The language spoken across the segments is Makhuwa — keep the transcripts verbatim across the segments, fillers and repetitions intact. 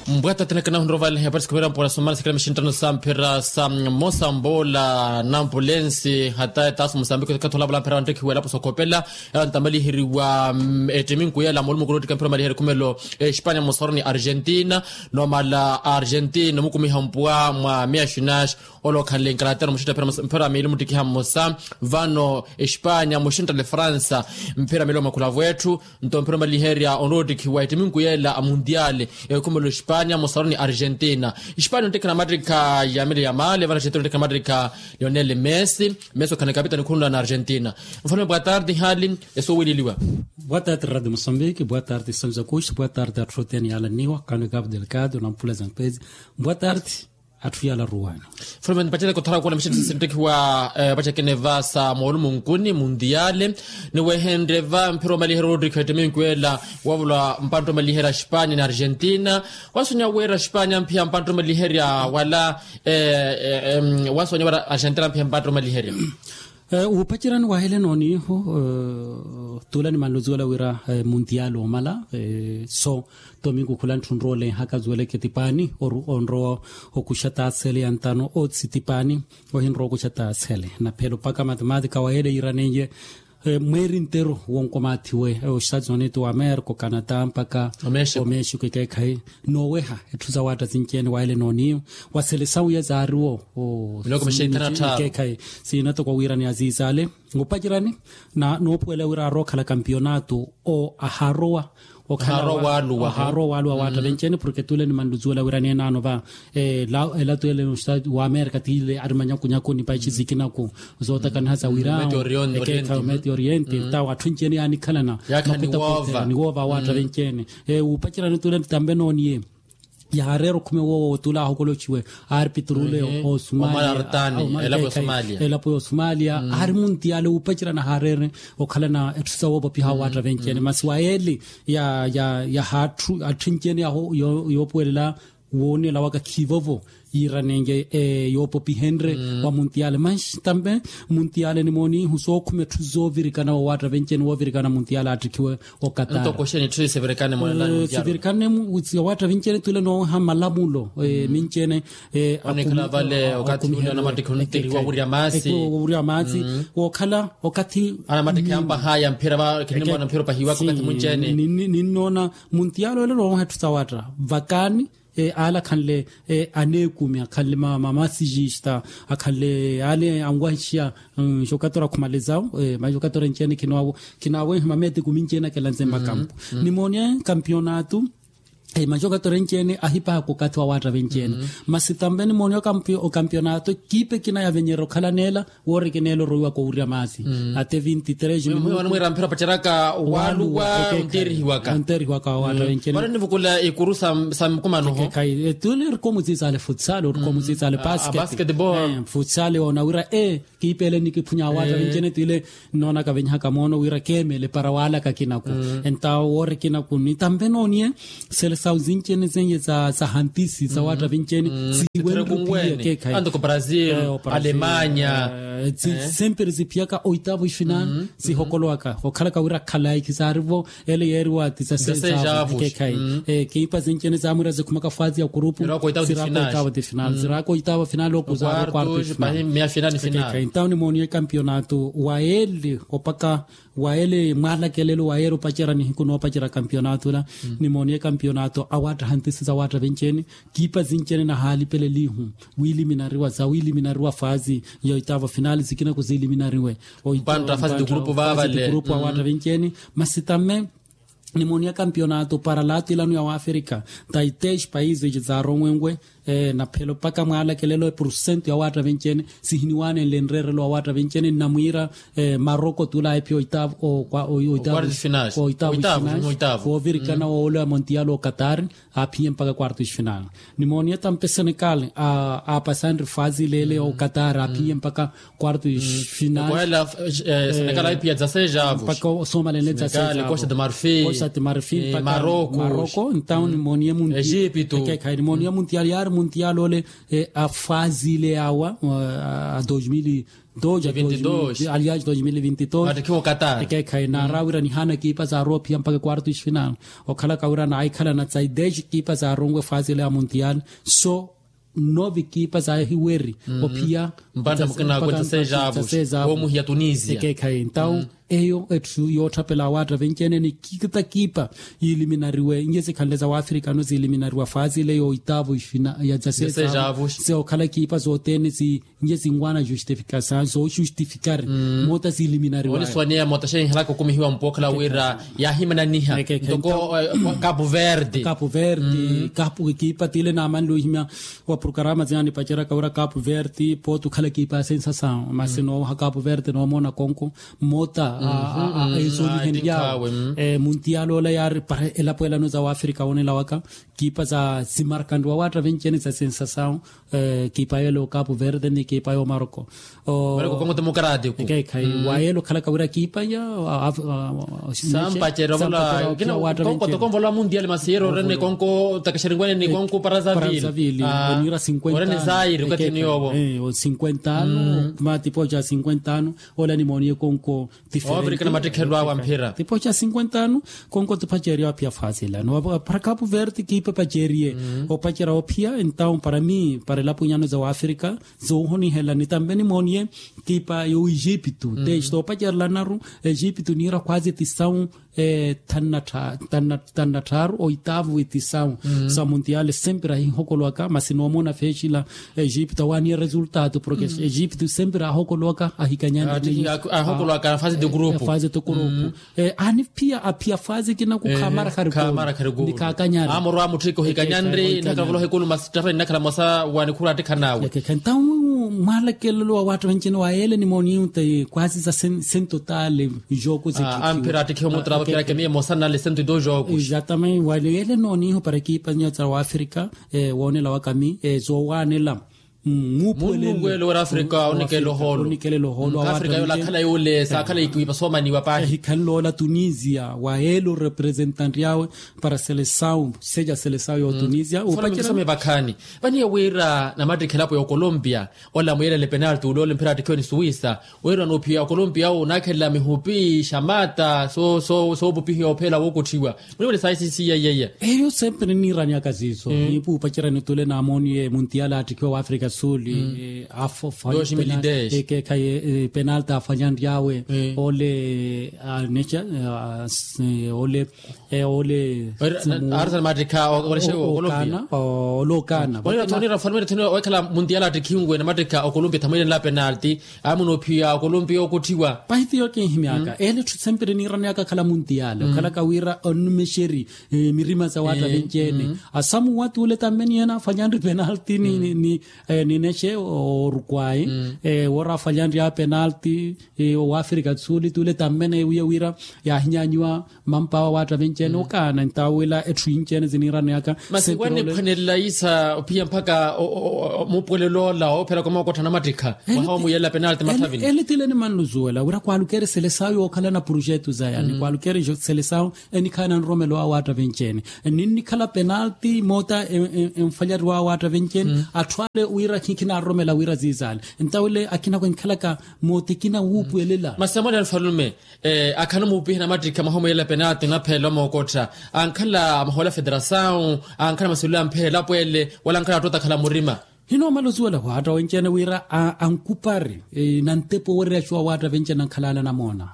Mbwata thenekena hunrovalhe parisi khuvira mpora somana sikira mixinttano sa mphira sa mmosa mboola na ampulensi hata etaasi musambiki okathi olavola mphira wanttekhiwa elapo sokhopela. Elantamaliheriwa ettimi nkuyela moolumukulu ottika mphira omaliherya ekhumelo espanya mosaroni argentina. Nomala argentina omukumiha mpwa mwa miya xinaxi. Ole okhanle nkarateru muxintta mphira miili muttikiha mmosa. Vano espanya muxinttale fransa mphira miili omakhula vwetthu. Nto mphira omaliherya onrowa ottikhiwa ettimi nkuyela a mundiale ekhumelo espanya mosaroni argentina. Espanya onttikhana mattikha yamile yamale vano argentina onttikhana mattikha lionel messi. Messi okhana ekapitani khunula na argentina. Mfano bwa tardi hali esowililiwa. Bwa tardi radio mosambiki bwa tardi sanzakush bwa tardi atthu othene yaalanniwa kano ekapu delgado na mpula za mpezi. Bwa tardi. Atthu yaalaruwano. Fulumen pacereke othara kula mixinttisi sinttekhiwa. Pacerekene va sa moolumunkuni mundiale. Ni wehenrye va mphira omaliherya oottikha ettimi nkuyela wavula mpantta omaliherya espanya ni argentina. Wasonya wira espanya mphiya mpantta omaliherya wala wasonya wira argentina mphiya mpantta omaliherya. Wuupacerani wahele nooniihu tuula nimanluzuwela wira mundiale omala so tomingu khula ntthunroole haka zuweleke tipaani onrowa okuxa taasele ya ntano otsitipaani. Ohinrowa okuxa taasele naphelo mpaka mathematika wahele yiiranenye mweeri nteru wonkomaathiwe ostatis unidos wa amerika okanata mpaka omexico ekeekhayi nooweha etthu sawaatta sinci-ene wahele nooniihu. Wa selesawu ya zaariwo ekeekhayi siina toko wiirani aziizaale. Opacerani noopuwela wira arookhala kampionato o ahaarowa okhala ahaarowa waaluwa waatta venci-ene porke tule nimanluzuwela wira neenaano va. Ela tule wa amerika tile ari manyakunyaku ni paixi sikinaku zootakaniha za wira ekeekhayi ometi oriente tawo atthu enci-ene yaanikhalana. Niwoova waatta venci-ene. Opacerani tule tambe nooniye yahaareera okhume woowo tule ahokoloxiwe arpitrule osumalia elapo ya osumalia aari muntiale wuupacerana haareere okhalana etthu sawoopopiha waatta venci-ene masi wa yeeli ya ya ya haatthu atthu enci-ene yoopuwelela woonela waka khiivovo yiiranenye yoopopihenrye wa muntiale manxi tambe muntiale nimoonihu sookhuma etthu zoovirikana woowatta venci-ene woovirikana muntiale aattikhiwe. Okatar sivirikane mu sivirikane mu siya waatta vinci-ene tule nooweha malamulo minci-ene onikhala vale okathi ule anamattikha onttirihiwa wurya maasi wurya maasi wookhala okathi anamattikha yampa haya mphira va kinimona mphira opahiwaka okathi munci-ene. Ninnoona muntialo ele nooweha etthu sa waatta vakaani ale akhanle aneekumi akhanle mamasijista akhanle ale anwahixiya. Nxokatora khumalizawo manxokatora enci-ene khinaawehiwa mameeti kumi enci-ene akelanze makampu nimooniye kampionato. Manxokatora enci-ene ahipahaka okathi wa waatta venci-ene masi tambe nimooniye okampionato ekipa ekina yavenyerya okhala neela woori kineela orowiwaka owurya maasi ate vinti tres minutu. Mwiira mphira opaceraka waluwa onteerihiwaka onteerihiwaka wa waatta venci-ene vano nivukula ikuru sa mukumano ho. Tule orikomuziizaale futsal orikomuziizaale basket basketball futsal woona wira e kiipeele nikiphunya waatta vinci-ene tile nnoonaka venyihaka moono wira keemele para waalaka kinaku. Entawo woori kinaku ni tambe nooniye selesawu zinci-ene zenye za hantisi za waatta vinci-ene sihiwenrukhiye keekhayi antoko brazil alemanya. Sempre ziphiyaka oitavu ifinal sihokolowaka okhalaka wira khalayi khisaarivo ele yeeriwa ti za sejavu keekhayi. Kiipa zinci-ene zaamwiira zikhumaka faazi ya kurupu ziraaka oitavu ti final ziraaka oitavu final oku zaara okwartu final. Entawo nimooniye kampionato wa ele opaka wa ele mwaalakelelo wa ele opacerya nihiku noopacerya kampionato ela nimooniye kampionato awaatta hantisi za waatta venci-ene kiipa zinci-ene nahaalipelelihu wiiliminariwa za wiiliminariwa faazi ya oitavu final zikinaku ziiliminariwe. Mpantta faazi ti kurupu vaavale kurupu awaatta venci-ene masi tamme nimooniya kampionato para latilano ya waafrika taitex países zaaromwenwe. Naphelo mpaka mwaalakelelo epursento ya waatta venci-ene sihiniwaanenle nreerelo wa waatta venci-ene nnamwiira maroko tula ephiya oitavu oitavu oitavu oitavu woovirikana wooloya montial okatar aaphiye mpaka quarto ifinal. Nimooniye tampe senegal aapasanre faazi leele okatar aaphiye mpaka quarto ifinal. Senegal aiphiya za sejavu mpaka osoomalenle za sejavu costa de marfil. Sati marfil mpaka maroko. Entaw nimooniye muntial. Ekeekhayi nimooniye muntial yaari muntial ole. A fase ile yaawa a dos mil e dos alias dos mil e vinte e dos. Ekeekhayi naara wira nihaana ekipa zaarowa ophiya mpaka quarto esfinal. Okhalaka wira naahikhalana tsa ideji ekipa zaaronwe fase ile ya muntial. So nove ekipa zaahiweri ophiya. Mpantta mukina akwe tsa seis avos. Woomuhiya tunisia. Ekeekhayi entaw eyo etthu yootthapela awaatta venci-ene ni kita ekipa yiiliminariwe nje sikhanle za waafrika ano ziiliminariwa fase ile yoitaavo ya za seis avos. Seokhala ekipa zothene zinje zinwaana justifikasaw zoojustifikari moota ziiliminariwa. Oniswaneya moota xenhelaka okumihiwa mpookhala wira yaahimananiha ntoko kapu verde. Kapu verde kapu ekipa tile naamanle ohimya wa programa ziya nipaceraka wira kapu verde pooti okhala ekipa ya sensasaw masi noowaha kapu verde noomoona konko. Mmota a esonihenryawe muntial ola yaari para elapo elano za waafrika woonelawaka. Ekipa za simarkanriwa waatta venci-ene za sensasaw. Ekipa yelo kapu verde ni ekipa yo maroko. Ekeekhayi wayelo okhalaka wira ekipa ya sampacerya ovola. Konko tokonvola mundial masi yero orene konko takexerinwene ni konko parazavili. Onira sinkwenta ano. Orene zairi okathini yowo sinkwenta ano. Matipoca sinkwenta ano. Ola nimooniye konko. Tifirenti na mattikhelo awe a mphira. Tipoca sinkwenta ano. Konko tipacerya ophiya fase ilano para kapu verde kiipa epaceriye opacerya ophiya entaw para mi para elapo inyano za waafrika. Zoohonihela ni tambe nimooniye ekipa yo egipto te sitoopacerelanaru. Egipto niira khwazi tisawu thanu na tthaaru oitavu itisawu sa muntiale sempre ahihokolowaka masi noomoona feexila. Egipto awaaniye resultado porke egipto sempre aahokolowaka ahikanyanre. Ahihokolowaka fase ti kurupu. Fase ti kurupu. Aani phiya aphiya fase kinaku khaamara kharikulu. Ni khaakanyari amorwa mutthiki ohikanyanri nnakhala vola ohikulu masi ttafa ninnakhala mosa wa nikhuru attikhan'awe. Entaw mwalakelelo wa waatta venci-ene wa yeele nimoonihu ti kwazi za sentotale. Joku zikhikiwa amphira attikhiwe muttara vaphirake miye mosa nnale sentoto joku. Exatamente wale yeele noonihu para ekipa nyo za waafrika. Woonelawaka mi zoowaanela. Munnuwelo wira afrika onikela ohoolo. Afrika yola akhala yule saakhala ikiwipa soomaniwa paahi. Ehikhanle ola tunisia wayeela orepresentante yawe para selesawu seja selesawu yo tunisia. Upacerya some vakhaani vaniye wira namattikha elapo ya okolombia ola muyelele penalti ule ole mphira attikhiwe ni suwisa. Wira noophiya okolombia owo onaakhelela mihupi xamata soopupihiwa opheela wookotthiwa. Muni muni saisi siya iyaiya. Eyo sempre niniirani aka siiso niipuupacerya nitule naamooniye muntial aattikhiwa wa afrika suli. Afofa ekeekhaye penalti aafalyanry'awe ole aneca ole ole. Arsenal mattikha okolombia ole okaana. Onira thoni onira thoni weekhala muntial aattikhiwe namattikha okolombia thamwiilenla penalti. Aamuna ophiya okolombia okotthiwa. Pahitiyo kinhimyaka ele etthu sempre niirani aka akhala muntial okhalaka wira onnumexeri mirima sa waatta venci-ene. Asamuwa tuule tamme ni ena afalyanri penalti ni nexe orukwai woora afalyanri a penalti. Owaafrika suli tuule tamme neewiya wira yaahinyanyiwa mampaawa waatta venci-ene okaana entawo wila etthu inci-ene ziniiraneyaka. Masi wanikhwanelela isa ophiya mpaka mupuwelelo ola oopheraka omookottha namattikha mwaha omuyelela penalti mathavini. Ele tile nimanluzuwela wira kwaalukeri selesawu yookhalana projetu zaya ni kwaalukeri selesawu enikhaana nromelo awo attavence-ene. Ninnikhala penalti moota enfalyaru awo attavence-ene atthu ale wira khikhinaroromela wira ziizaale. Entawo ile akhinako enkhalaka moota ekina wuupuwelela. Masi amwene anfalume akhala omuupiha namattikha mwaha omuyelela penalti onaphelela omookottha ankhala amahoola federasawu ankhala masilula amphelela apweele wala ankhala attoota akhala murima. Hinoomala osuwela hwaatta wenci-ene wira ankupari nantepa owereya acuwa waatta venci-ene ankhala ale anamoona.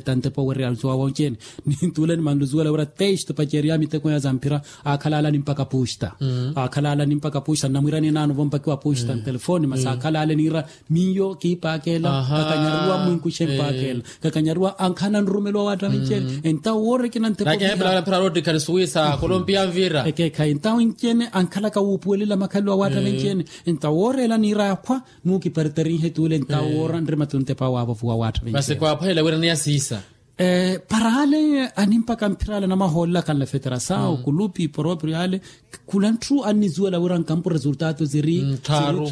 Tantepa owereya acuwa wenci-ene. Nintule nimanlusuwela wira teisto paceeriya miteko ya zamphira aakhala ale animpaka pusta. Aakhala ale animpaka pusta nnamwirani enaano vompakiwa pusta ntelefoni masi aakhala ale niira miyo kiipaakela kakanyariwa mwinkuxe mpaakela. Kakanyariwa ankhala nanrumelo wa waatta venci-ene entawo woora ekina ntepa owereya. Ekeekhayi entawo enci-ene ankhalaka wuupuwelela makhalelo a waatta venci-ene. Entawo woora ela niira akhwa nuukiparitarinhe tuule entawo woora nrima tuntepa waavovuwa waatta venci-ene. Masi kwaapwahela wira ni asiisa. Para ale animpaka mphira ale anamahoolela khanle feterasawu kulupi poroprio ale, khula ntthu annizuwela wira nkampu resultato ziri tthaaru.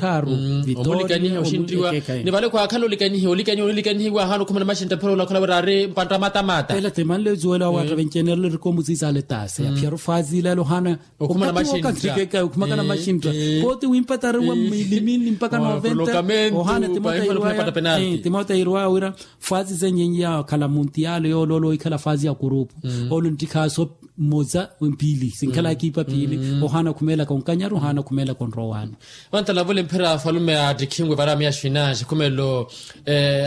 Omulikaniha oxinttiwa. Ni vale khwaakhala olikanihiwa olikanihiwa olikanihiwa ahaana okhumana maxintta mphira olakhola wira ari mpantta matamata. Ela ti manle zuwela waatta vencenelo rikomuziza ale tase aphiyaru fazi ilelo haana okhumana maxintta. Okhumakana maxintta. Koti wimpatariwa mmilimili mpaka noventa. Ohaana timota irwaya wira fasi zenyenye yaakhala muntiyaale yooloolo ikhala fasi ya kurupu. Olo nttikhaaso mmoza mpili sinkhala ekipa piili. Ohaana khumeelaka onkanyaru ohaana khumeelaka onrowaani. Vantalavule mphira afalume attikhinwe varamiya xinanxi khumelo.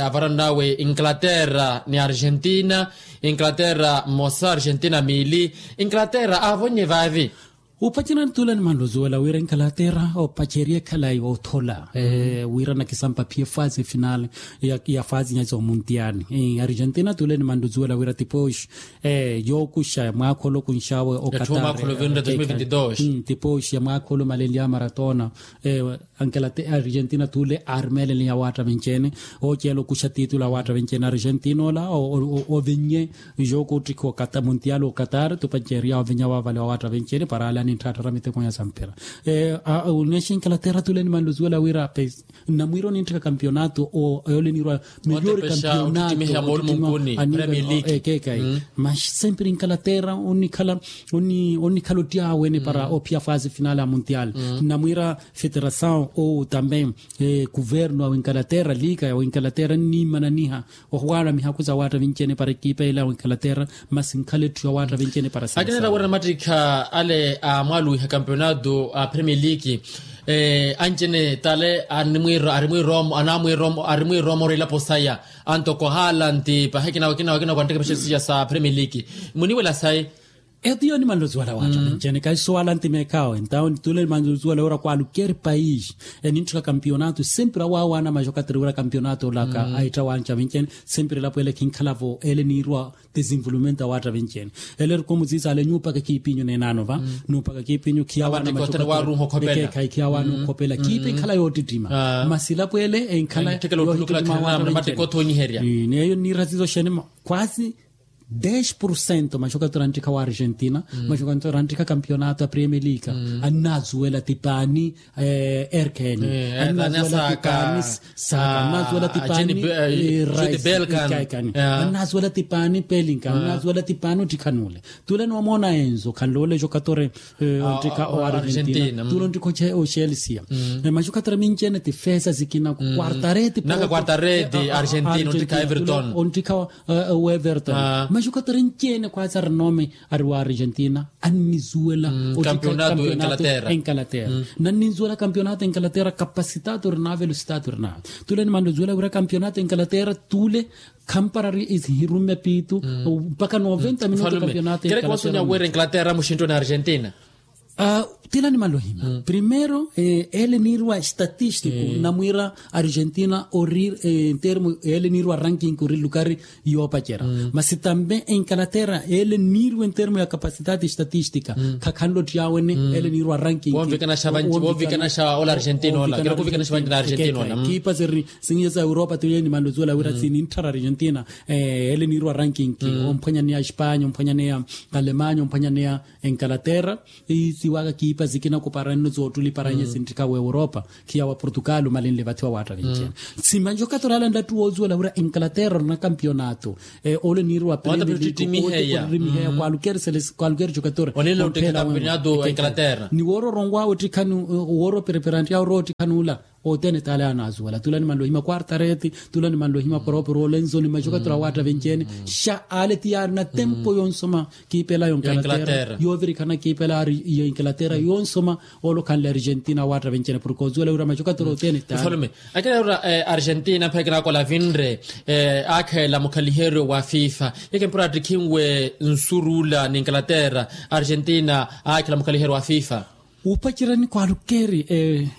Avarannawe inglaterra ni argentina. Inglaterra mmosa argentina miili. Inglaterra aavonnye vaavi. Upacerani tule ni manluzuwela wira inglaterra opaceriye khalayi othola wira nakisampa phiye fasi final ya fasi nyazi omuntiani. Argentina tule ni manluzuwela wira tipoxi yookuxa ya mwaakha olokunxawe okatari. Tipoxi ya mwaakha olomalenlya maratona. Argentina tule aarmeelele ya waatta venceene. Ooceela okuxa titulu a waatta venceene argentina ola ovinnye. Jooko ottikha okata muntiyaali okatari tupanceeriya ovinya waavale wa waatta venceene para ale anintthaattara miteko nya samphira. Onexa inglaterra tule ni manluzuwela wira pes nnamwiira onintthika kampionato. Ole niirwa miyori kampionato ottittima. Ekeekayi. Maxi sempre inglaterra onnikhala onnikhala ottiyaawe ni para ophiya fasi final a muntiyaali. Nnamwiira feterasawu owu tambe kuvernu a wingalaterra liika ya wingalaterra nniimananiha ohuwaala mihaku za waatta vinci-ene para ekipa ela ya wingalaterra. Masi nkhala etthu ya waatta vinci-ene para sasa. Akinera wira namattikha ale amwaluwiha kampionato a premier league. Anci-ene tale arimwiiroomo arimwiiroomo arimwiiroomo ori elapo saya. Antoko haalanti pahi ekina wakina wakina kwanttekepexerisiya sa premier league. Muniwela sayi. Etu iyo nimanle osuwala waatta vinci-ene kahi suwala ntimeekhawe entawo nitule nimanle osuwala wira kwalukeri paisi enintthika kampionato sempre awaawaana maxokateri wira kampionato olaka ahittha wanca vinci-ene. Sempre elapo ele khinkhalavo ele niirwa desenvolvimento awaatta vinci-ene. Ele erikomuziisa ale nyuupaka ekiipinyu neenaano va nuupaka ekiipinyu khiyaawaana maxokateri. Ekeekhayi khiyaawaana okhopela ekiipi enkhala yoottittima. Masi elapo ele enkhala yoottittima awaatta vinci-ene. Neeyo nniira sizo xene kwasi dez porcento maxokatero anttikha wa argentina maxokatero anttikha kampionato a premier league annaazuwela tipaani. Erkeni annaazuwela tipaani. Saka annaazuwela tipaani. Rai kaikani annaazuwela tipaani pelinka annaazuwela tipaani ottikhanule. Tule noomoona enzo khanlole xokatore onttikha o argentina tule onttikha oxelsia. Maxokatero minci-ene tifesa zikina kuartareti naka kuartareti argentina onttikha everton onttikha o everton. Maxokatero nci-ene khwaasi arinome ari wa argentina annizuwela kampionato enkalaterra. Nannizuwela kampionato enkalaterra kapasitato ori na velositato ori na tule nimanle ozuwela wira kampionato enkalaterra tule khampara ari ihirumme piitu mpaka noventa minuto kampionato enkalaterra. Wira enkalaterra muxinttoni argentina. Tila nimanle ohima primero ele niirwa estatístico namwiira argentina ori ntermo ele niirwa ranking ori lukari yoopacerya. Masi tambe enkalaterra ele niirwa entermo ya capacidade estatística khakhanle ottiyaawene ele niirwa ranking. Wonvikanaxa vanci wonvikanaxa ola argentina ola kira kuvikanaxa vanci na argentina ola. Ekipa siri singiya sa europa tile nimanle osuwela wira sinintthara argentina ele niirwa ranking omphwanyaneya espanya omphwanyaneya alemanya omphwanyaneya enkalaterra. Isiwaka kiipa sikina kuparanno soottuli paranye sinttikha wa europa khiya wa portugal omalenle vathiwa waatta vinci-ene. Simanci okatorala nlattu woosuwela wira enkalaterra orina kampionato ole niirwa premiliku ottimiheya kwalukeri selesikwalukerexa okatorala. Ni woora oronwawe ottikhani woora opereperanti yawe orowa ottikhanula othene tale anaazuwela tule nimanle ohima quartareti tule nimanle ohima poroporo olenzoni maxokatero awaatta venci-ene xa ale ti yaarina tempo yonsoma kiipela yonkalaterra yoovirikhana kiipela ari yonkalaterra yonsoma. Ole okhanle argentina awaatta venci-ene porke ozuwela wira maxokatero othene tale. Akina wira argentina mpakha kinakola vinre akheela mukhaliheryo wa fifa. Yeke mpura attikhinwe nsurula ni inglaterra argentina akheela mukhaliheryo wa fifa. Wuupacerani kwalukeri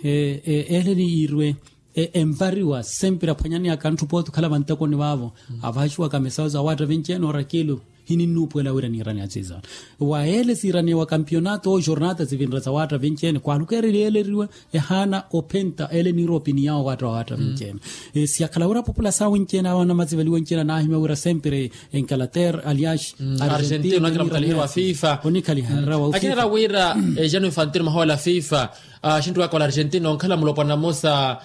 ele niirwe envariwa sempre aphwanyaneyaka ntthu pooti okhala vantekoni vaavo avaxiwaka mesawo za waatta vinci-ene orakilu. hininnuupuwela wira niiraneya tsiizo. Wa ele siiraneya wa kampionato owo jornata sivinre sa waatta vinci-ene kwalukeerya yeeleriwe ehaana ophenta ele niira opiniyawo waatta wa waatta vinci-ene. Siyakhala wira apopulasawu winci-ene awo anamaziveliwa winci-ene anaahimya wira sempre enkalaterra alias argentina onakhala mukhaliherya wa fifa. Onikhaliherya wa fifa. Akinera wira ejano infantino mahola fifa. Axintthu aka ola argentina onkhala mulopwana mmosa.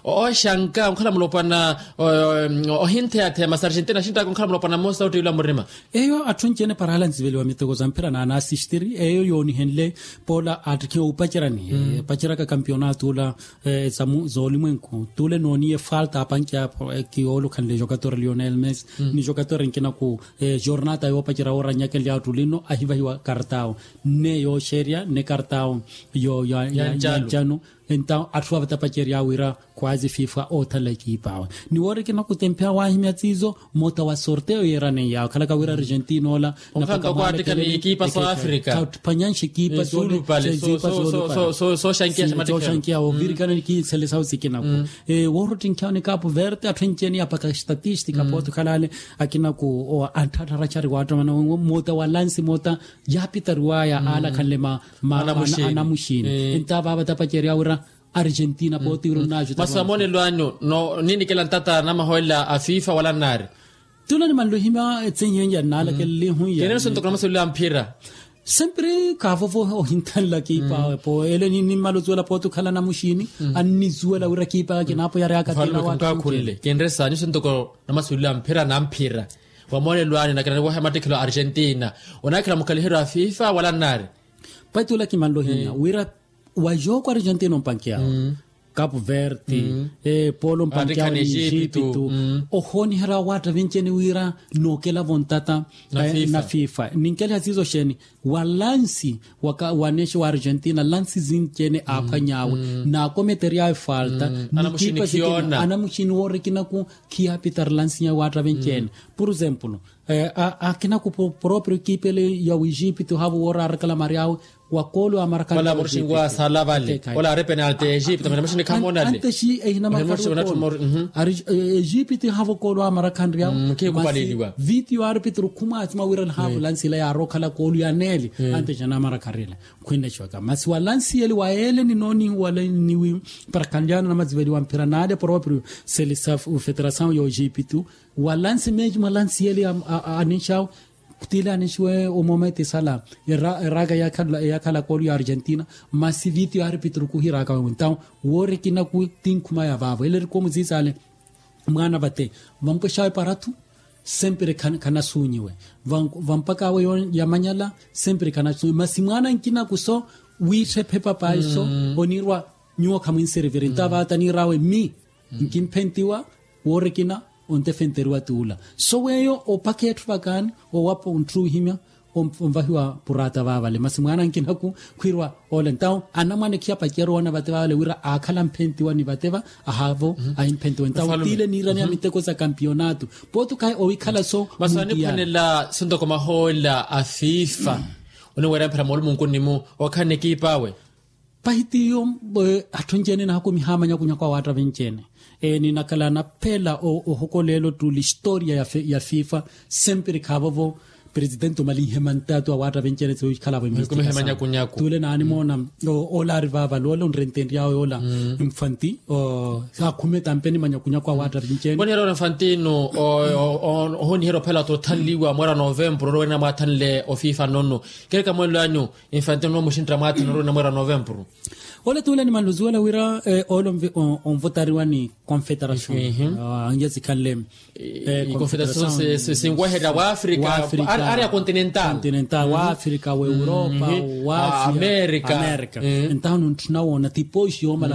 Oxanka onkhala mulopwana ohintheyatheya masi argentina axintthu aka onkhala mulopwana mmosa ottiwila murima. Eyo atthu anci-ene parahala anziveliwa miteko za mphira na anasistiri eyo yoonihenle. Poola attikhiwa opacerani epaceraka kampionato ola zoolimwenku tule nooniye falta apanke apo kiyoolukhanle jokatora lionel mesi ni jokatora nkinaku. Jornata yoopacerya wooranyakely'awo ttulinno ahivahiwa kartawo nne yooxerya nne kartawo. Yo ya ncano. Entawo atthu avatapacery'awe wira kwazi fifa oothanla ekiip'awe ni woorikina kutempheya waahimya tsiizo. Mota wa sorteyo yeeraneiyawe khalaka wira argentina ola. Onkhanto kwaattikha ni ekipa so afrika. Khattiphanyanxe ekipa soolupale sooxankiya sooxankiya ovirikana ni kinselesawu sikinaku. Woorottinkhiyawo ni kapu verte atthu anci-ene yapaka estatistika pooti okhala ale akinaku antthaattharacari waattamana mota wa lansi mota yaapitariwaya alakhanle ma anamuxini. Entawo vaavatapacerya wira argentina pooti wira onnaaju masi vamoonelo anyu. Ninikela ntata namaholela a fifa wala nnaari. Tula nimanle ohimya etsenyeya nnaalakela elihu ya. Kenene sontoko namasolelo a mphira. Sempre kaavovo ohinthanla kiipa awe po ele nimmala osuwela pooti okhala namuxini annizuwela wira kiipa aka kinaapoyarya aka. Kinre saani sontoko namasolelo a mphira na mphira. Vamoonelo anyu nakina nivoha mattikhelo a argentina onakhala mukhaliheryo a fifa wala nnaari. Paitula kimanle ohinya wira wa jooko argentina ompankeyawe kapu verte polo ompankeyawe ni ejipitu. Ohooniherya waatta vinci-ene wira nookelavo ntata na fifa ninkeliha siizo xeeni. Wa lansi waneexe wa argentina lansi zinci-ene aaphwany'awe naakometery'awe falta ni kiipa sikina anamuxini woorikinaku. Khiyaapitari lansi ya waatta vinci-ene. Por exemplo akinaku proprio ekipa ele ya wejipito havo woora arakala mary'awe wa koolo amarakhanryawe. Ola amoxini waasaala vale ola ari penalti ya ejipito mene moxini khamoona ale. Anteshi ehinamakhari okoolo ari ejipito ihavo koolo amarakhanryawe. Masi vitio arpitro khumwaasima wira nihavo lansi ila yaari okhala koolo ya neeli. Anteshi anamarakhanryawe khwinnaxiwaka masi wa lansi ele wa ele ninoonihuwale niwi parakhanryana namaziveliwa mphira naale proprio selisa federasawu ya ojipito. Wa lansi meji mwa lansi yeli aninxawo tile aninxiwe omometi sala eraaka eyakhala koolu ya argentina. Masi vitio arpitro khuhiraaka wewe ntawo woorikinaku tinkhuma ya vaavo ele erikomu ziisale. Mwaana vate vampwexawe parathu sempre khanasuunyiwe vampakaawe yamanyala. Sempre khanasuunyiwe masi mwaana nkinaku so wiittha ephepa paiso onirwa nyuwo khamwinseriviri ntawo vaata niir'awe mmi nkimphentiwa woorikina. Ontefenteriwa t'ula so weeyo opaka etthu vakaani owapa ontthu ohimya onvahiwa puraata vaavale masi mwaana nkinaku khwiiriwa ole ntawo anamwane khiyapacerya oona vate vaavale wira aakhala amphentiwa ni vate va ahaavo ahimphentiwa ntawo tiile niiraneya miteko sa kampionato. Pooti okhayi owikhala so masi aniphwanela sontoko mahoolela a fifa oniweerya mphira moolumunkuni-mu okhala n'ekiip'awe. Pahi t'iyo atthu anci-ene nahakumiha amanyakunyaku awaatta vinci-ene. Ninakhala anaphela ohokolela ottuli historia ya fifa sempre khaavovo. Presidente omalinhe mantato awaatta vinci-ene tsi wikhalavo emihistikhasa t'ule naanimoona. Ola ari vaavale ola onrentenry'awe ola infanti. Saakhume tampe ni manyakunyaku awaatta vinci-ene. Oniherya ola infantino ohoniherya ophela t'othanliwa mweera novempuru olowerina mwaathanle ofifa nnono. Keri kamweelo anyu infantino noomuxintta mwaatha noroona mweera novempuru. Ole t'ule nimanluziwela wira ole onvotariwa ni confederacion. Angiya sikhanle confederacion sinweherya wa afrika ari a continental wa afrika wa europa wa amerika. Entaho nontthuna woona tipoxi yoomala.